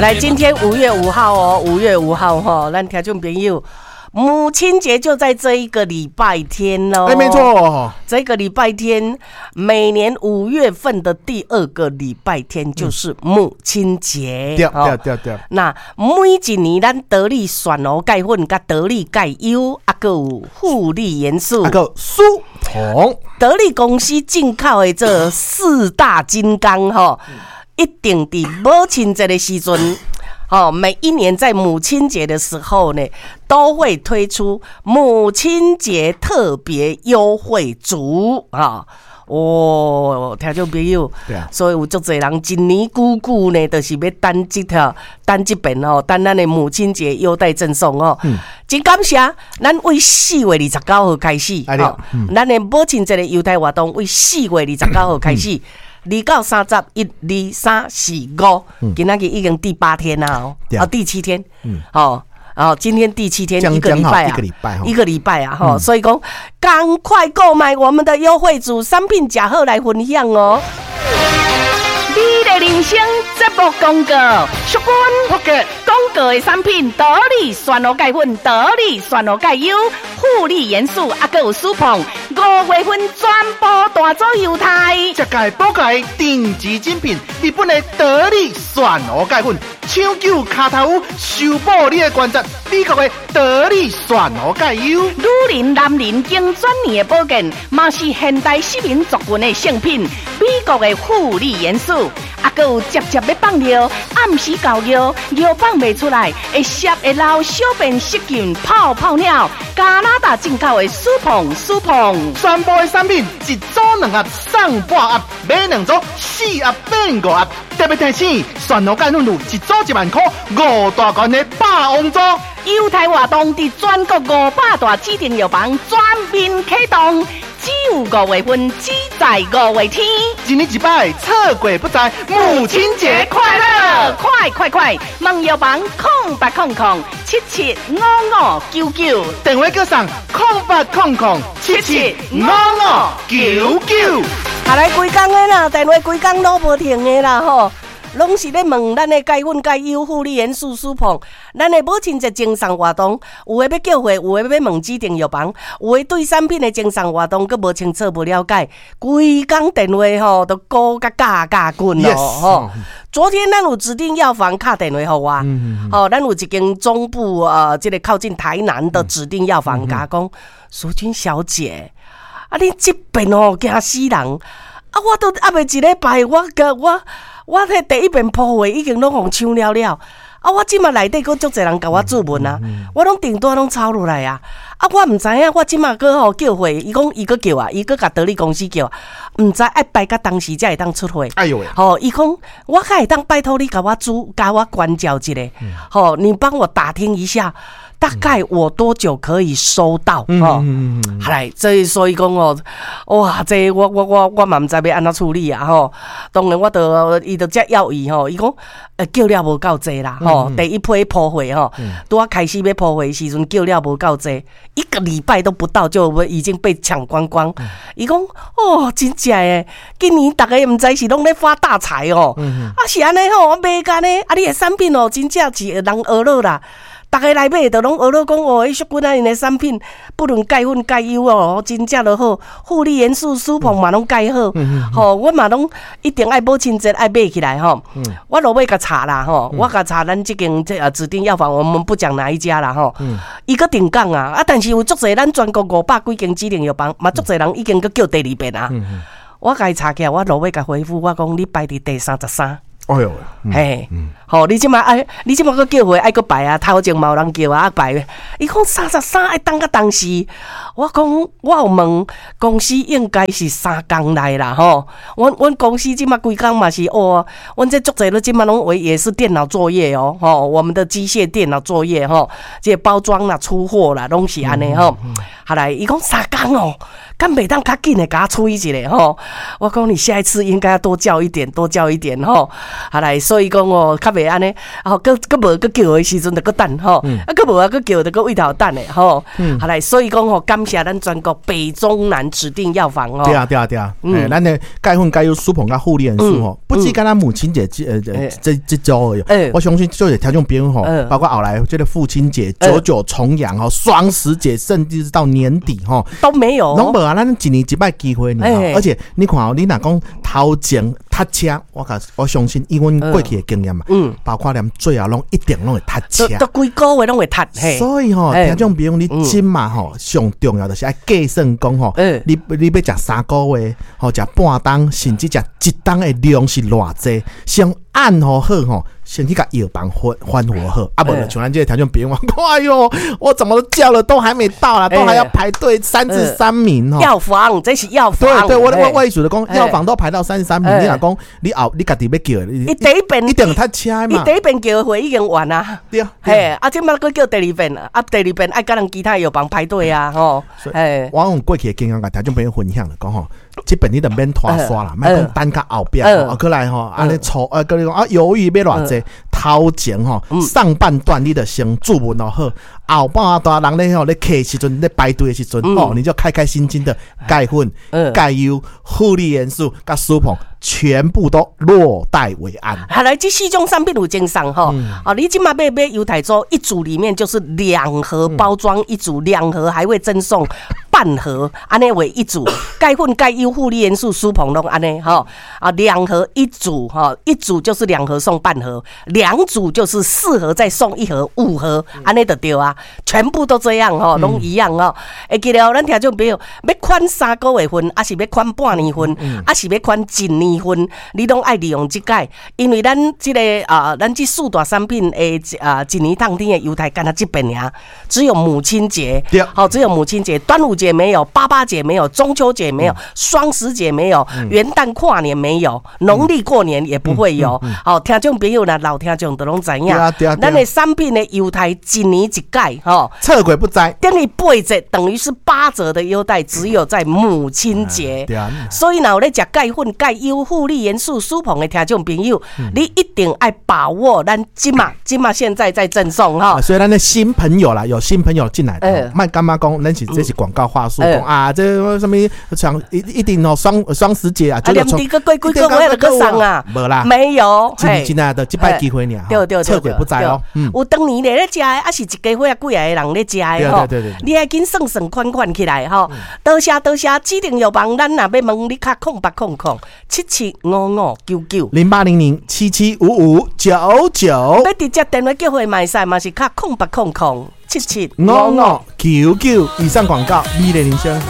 來，今天五月五號哦，五月五號哈，咱聽眾朋友，母親節就在這一個禮拜天哦。哎，沒錯，這個禮拜天，每年5月份的第二個禮拜天就是母親節。對對對對。那每一年咱得力蒜蘆鈣粉、佮得力鈣優，啊，閣有護理元素，啊，閣舒膨，得力公司進口的這四大金剛，吼，一定佇母親節的時陣，吼，每一年在母親節的時候呢，都會推出母親節特別優惠組啊！哦，聽眾朋友，所以有足濟人一年久久呢，就是欲等這條等這遍吼，等咱的母親節優待贈送哦。真感謝，咱為4月29號開始，吼，咱的母親節的優待活動為4月29號開始。2到30，一、二、三、四、五，今仔日已經第八天啦，哦，啊，第七天，哦，哦，今天第七天，一個禮拜啊，一個禮拜，一個禮拜啊，吼，所以講，趕快購買我們的優惠組商品，呷好來分享哦。美麗人生節目廣告，淑君福嘅廣告的產品，得力蒜蘆鈣粉，得力蒜蘆鈣優，護理元素，啊，閣有舒膨，5月份全部大組優待。這屆寶蓋頂級精品，日本的得力蒜蘆鈣粉，搶救跤頭趺，修補你的關節。美國的得力蒜蘆鈣優，女人、男人經轉年的保健，嘛是現代失明族群的聖品。美國的護理元素，啊，閣有捷捷欲放尿，暗時搞尿，尿放袂出來，會濕會流，小便失禁，泡泡尿。加拿大進口的舒膨舒膨，全部的產品一組兩盒送半盒，買兩組四盒變五盒。特別提醒，蒜蘆鈣粉有一組1萬塊，五大罐的霸王組。優待活動佇全國500大指定藥房全面啟動，只有五月份，只在五月天。一年一擺，錯過不再。母親節快樂！快快快！問藥房0800775599，電話閣送0800775599。啊來，規工的啦，電話規工攏無停的啦吼。攏是咧問咱的鈣粉、鈣優護理元素舒膨，咱的母親節贈送活動，有的欲叫貨，有的欲問指定藥房，有的對產品的贈送活動閣無清楚、無了解，規工電話吼都鼓甲甲甲滾咯吼。昨天咱有指定藥房敲電話予我，吼，咱有一間中部這個靠近台南的指定藥房，共我講，淑君小姐，啊，你這遍哦驚死人，啊，我都猶未一禮拜，我閣我。我彼第一遍鋪貨已經攏予搶了了，啊！我這馬內底閣足濟人共我質問啊，我攏訂單攏抄落來啊，啊！我毋知影，我這馬閣吼叫貨，伊講伊閣叫啊，伊閣共得力公司叫，毋知愛排到當時才會當出貨。哎喲喂！吼，伊講我較會當拜託你共我主，共我關照一下，吼，你幫我打聽一下，大概我多久可以收到？吼，好來，這所以講哦，哇，這我我我我嘛毋知欲按怎處理啊！吼，當然我著伊著遮要伊吼，伊講叫了無夠濟啦，吼，第一批鋪貨吼，拄仔開始欲鋪貨時陣叫了無夠濟，一個禮拜都不到就已經被搶光光。伊講哦，真正的，今年逐家毋知是攏咧發大財哦，啊是按呢吼，我買甲呢，啊你的產品哦，真正是人學落啦。逐家來買，就攏學咧講哦，彼淑君啊，𪜶的產品不論鈣粉、鈣優哦，真正都好，護理元素、舒膨嘛攏蓋好，吼，阮嘛攏一定愛母親節愛買起來吼。我落尾共查啦吼，我共查咱這間這指定藥房，我們不講哪一家啦吼。伊閣停工啊，啊，但是有足濟咱全國五百幾間指定藥房，嘛足濟人已經閣叫第二遍啊。我共伊查起來，我落尾共回覆我講你排佇第33。哎喲，嘿，吼，你這馬愛，你這馬閣叫貨愛閣排啊，頭前嘛有人叫啊，排。伊講三十三愛等到當時，我講我有問公司應該是3工內啦，吼。阮阮公司這馬規工嘛是哦，阮這足濟咧，這馬攏為也是電腦作業哦，吼，我們的機械電腦作業吼，這個包裝啦、出貨啦，攏是按呢吼。後來伊講三工哦，敢袂當較緊的共我處理一下吼？我講你下一次應該要多叫一點，多叫一點吼。後來所以講哦，較袂袂按呢，吼，閣閣無閣叫的時陣就閣等吼，啊，閣無啊，閣叫就閣位頭等的吼。好來，所以講吼，感謝咱全國北中南指定藥房哦。對啊，對啊，對啊，咱的鈣粉、鈣優、舒硼佮護理元素吼，不止干焦母親節這週而已，我相信就是聽眾朋友吼，包括後來這個父親節、九九重陽吼、雙十節，甚至是到年底吼，都沒有。攏無啊，咱一年一擺機會爾，而且你看哦，你若講頭前塞車，我相信以阮過去的經驗嘛，包括連最後攏一定攏會塞車，都規個月攏會塞。所以吼，聽眾朋友，你這馬吼上重要就是愛計算講吼，你欲食3個月，吼食半冬，甚至食一冬的量是偌濟，先按予好吼，先去共藥房吩咐好，啊無就像咱這個聽眾朋友講，哎喲，我怎麼叫了都還沒到啦，都還要排隊33名吼。藥房，這是藥房。對對，我意思就講，藥房都排到三十三名，你若講你後你家己欲叫，伊第一遍一定塞車嘛。伊第一遍叫的貨已經完啊。對啊。嘿，啊，這擺閣叫第二遍，啊，第二遍愛佮人其他藥房排隊啊，吼。嘿，我用過去的經驗共聽眾朋友分享了，講吼，這遍你就免拖沙啦，莫講等較後壁，啊，過來吼，按呢錯，啊，閣你講啊，猶豫欲偌濟，頭前吼上半段你就先注文予好，後半段人咧吼咧客時陣咧排隊的時陣，哦，你就開開心心的鈣粉、鈣優、護理元素、佮舒硼，全部都落袋為安。後來這四種產品有贈送吼，哦，你這馬買買優待組一組裡面就是兩盒包裝一組，兩盒還會贈送半盒，按呢為一組，鈣粉、鈣優、護理元素、舒硼攏按呢吼，啊，兩盒一組吼，一組就是兩盒送半盒，兩組就是四盒再送一盒，五盒，按呢就對啊，全部都這樣吼，攏一樣吼。會記得咱聽眾朋友欲款3個月份，抑是欲款半年份，抑是欲款一年份，你攏愛利用這擺，因為咱這個啊，咱這四大產品的啊，一年當天的優待，干焦這擺爾，只有母親節，好，只有母親節，端午節沒有，八八節沒有，中秋節沒有，雙十節沒有，元旦跨年沒有，農曆過年也不會有。好，聽眾朋友啦，老聽眾都攏知影，咱的產品的優待一年一改，吼，錯過不再，等於八折，等於是八折的優待，只有在母親節。所以若有咧食鈣粉、鈣優、護理元素、舒硼的聽眾朋友，你一定愛把握咱這馬這馬現在在贈送哈。所以咱的新朋友啦，有新朋友進來，莫感覺講，咱是這是廣告話術，講啊，這啥物像一定哦，雙十節啊，啊，連這個過幾個月就閣送啊，無啦，沒有，真真啊，就這擺機會爾，對對對，錯過不再哦。有當年咧食的，抑是一家伙仔幾個人咧食的吼，你愛緊算算款款起來吼。多謝多謝，指定藥房，咱若欲問你敲0800775599 0800775599，欲直接電話叫貨嘛會使，嘛是敲080077 5599。以上廣告，美麗人生。